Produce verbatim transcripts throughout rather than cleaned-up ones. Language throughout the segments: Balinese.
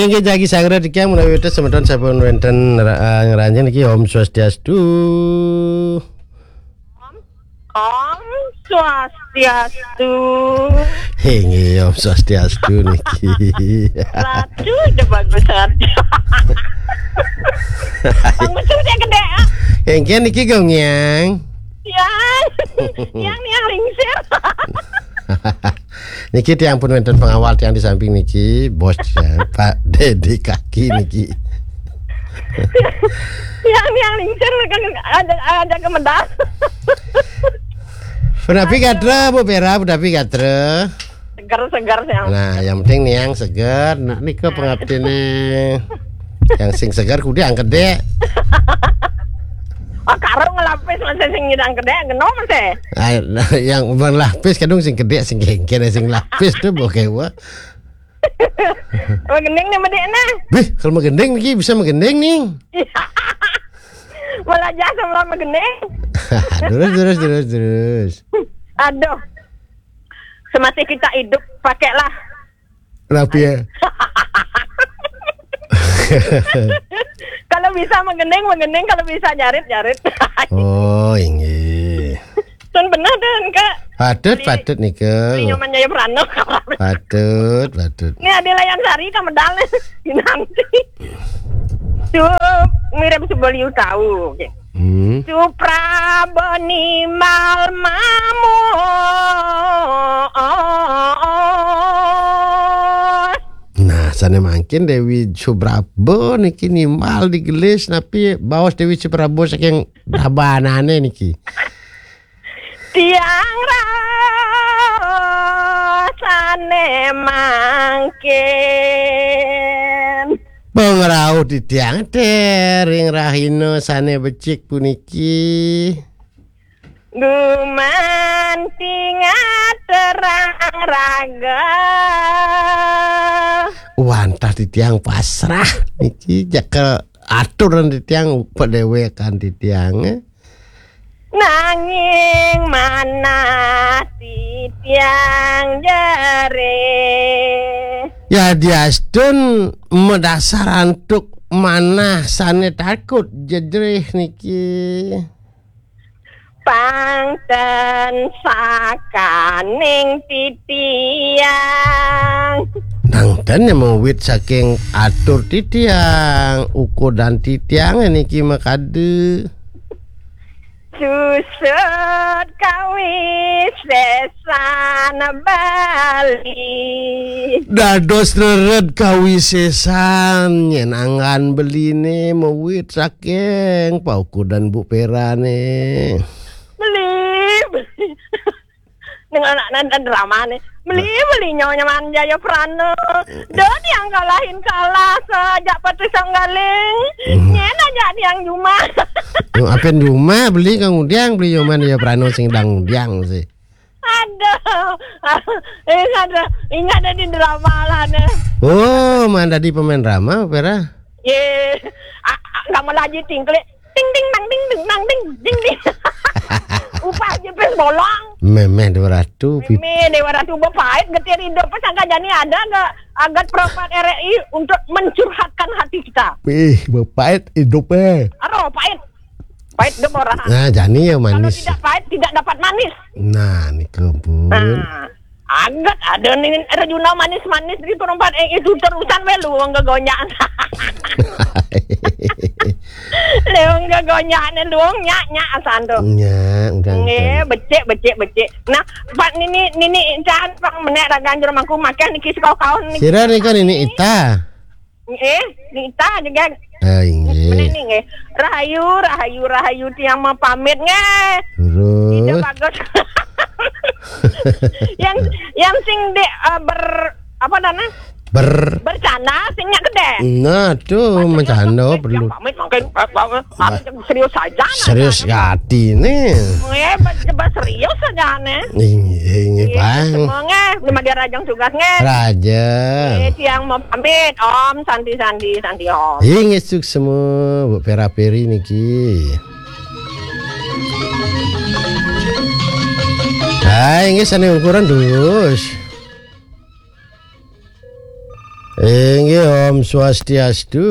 Inggih jagi sangra titiang menawi wénten semeton sampun wénten ra-, eh, ngranjing niki, Om Swastiastu. Om Swastiastu. Inggih, Om Swastiastu niki. Ratu udah bagus aja. Bang Betul dia gede, ah. Inggih niki, Gung Yang. Yang, yang, yang lingsir. Niki tiang pun wénten pengawal tiang di samping niki, bos ya, Pak Dedi Kaki niki. Yang, yang lingsir kan ada, ada kemedal. Punapi gatra, Bu Pera, punapi gatra. Segar, segar, yang. Nah, yang penting niang seger. Nah, nika pengabdine. Yang sing seger kudu yang gede. Oh, karo ngelapis masih sing nyidang gede, genom sih. Ah, nah, yang melapis kadung sing gede, sing gengken, sing lapis tuh bokeh wah. Magending nih medek nah. Bih, kalau magending niki bisa magending nih. Malah jasa malah magending. Terus, terus, terus, terus. Aduh. Semasih kita hidup, pakailah. Rapi ya. Kalau bisa magending, magending. Kalau bisa jarit, jarit. Oh, inggih. Sun bener deh, Kak. Patut, patut nika. Nyoman Jaya Prano. Patut, patut. Ini ada layan sari, kamedal. Nanti. Sup, mirip Subaliu tahu. Oke. Hmm. Suprabon nimal mamu. Nah, sane mangkin Dewi Suprabo niki nimbal digelis napi baos Dewi Suprabo saking rabanane niki. Tiang rasane mangkin. Pangrauh titiang tering rahina sane becik puniki. Gumanti ngaterang raga. Wantah titiang pasrah niki jakel aturan titiang padewekan titiang. Nanging manah titiang jerih. Ya diastun madasar antuk manah sane takut jejrih niki. Pangten sakaning titiang. Nangten ya mawit saking atur titiang, ukudan titiang niki makade. Susut kawisesan Bali. Dados rered kawisesan nyen anggan beline mawit saking paukudan Bu Perane. Beli, beli. Ning anak nan drama nih. Beli, beli nyonya manja ya Prano. Do tiang kalahin kalah sajak Patih Sanggaling. Hmm. Nyen aja tiang jumah. Apen jumah beli kang udiang beli nyoman ya Prano sing dang udiang sih. Aduh. Ingat, ingat ada di drama lah nih. Oh, mana di pemain drama, Pera? Ye, kamu lagi tingklik. Ting, ting, nang, ting, ting, nang, ting, ting, ting. Upah aja pes bolong. Memeh dua ratu. Memeh dua ratu bepait getir hidup pas angka jani ada nggak agat perempat R I untuk mencurhatkan hati kita. Ih, bepait hidup eh. Aduh, pait. Pait hidup orang. Nah, jani ya manis. Kalau tidak pait tidak dapat manis. Nah, nih kebun. Nah. Aget ada nih Rejuna manis-manis di perempat eh itu terusan we luang gegonjak. Luang gegonjak nih luang nyak nyak asan tuh. Nyak, udah. Nggih, becik becik becik. Nah, Pak Nini Nini Incan Pak menek ragan jero mangku makan niki saka kaon niki. Sira nika Nini Ita. Eh, Nita juga. Ah, inggih. Meneh nih, nggih. Rahayu, rahayu, rahayu tiang mau pamit nggih. Terus? Tidak bagus. Yang yang sing di eh, ber apa namanya? Ber Bercanda sing nyak gede. Nah, tuh bercanda perlu. Pamit makin serius saja. Serius hati nih. Nggih, coba serius saja nih. Inggih, inggih, Bang. Semua nggih, belum ada rajang tugas nggih. Raja. Eh, tiang mau pamit, Om. Santi, santi, santi, Om. Inggih, suksma, Bu Pera Peri niki. Hai, inggih, sane ukuran dus. Inggih, Om Swastiastu.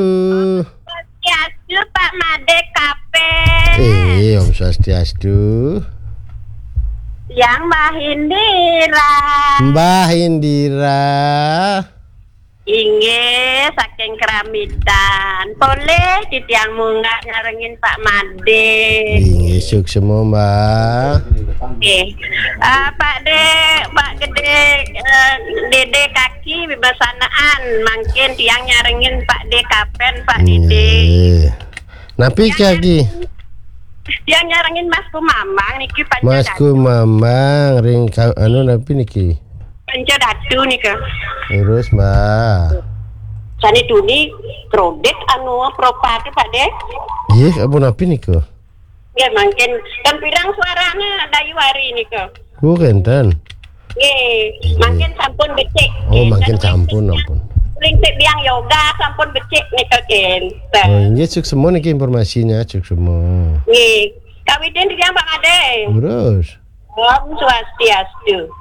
Swastiastu, Pak Made Kapen. Inggih, Om Swastiastu. Yang Mbah Indira. Mbah Indira. Inggih, saking Keramitan. Polih titiang munggah nyarengin Pak Made. Inggih, suksma, Mbah. Nggih. Ah, Pak De, Pak Gede, eh, Dede Kaki bebesanaan, mangkin tiang nyarengin Pak De Kapen, Pak Dede. Nggih. Napi kaki? Tiang nyarengin Mas Kumambang niki panca Mas datu. Kumambang ring ka-, anu napi niki? Panca datu nika. Terus, Mbah. Sane tuni kredit anu propa tu, Pak De. Nggih, ampun napi nika? Nggih, mangkin ten pirang suarane Dayu Ari nika. Oh, kenten. Nggih, mangkin sampun becik. Oh, nggih, mangkin sampun, ampun. Ring sik biang yoga sampun becik nika kenten. Oh, inggih, suksma niki informasinya, suksma. Nggih. Kawitin titiang, Pak Made. Terus. Om Swastiastu.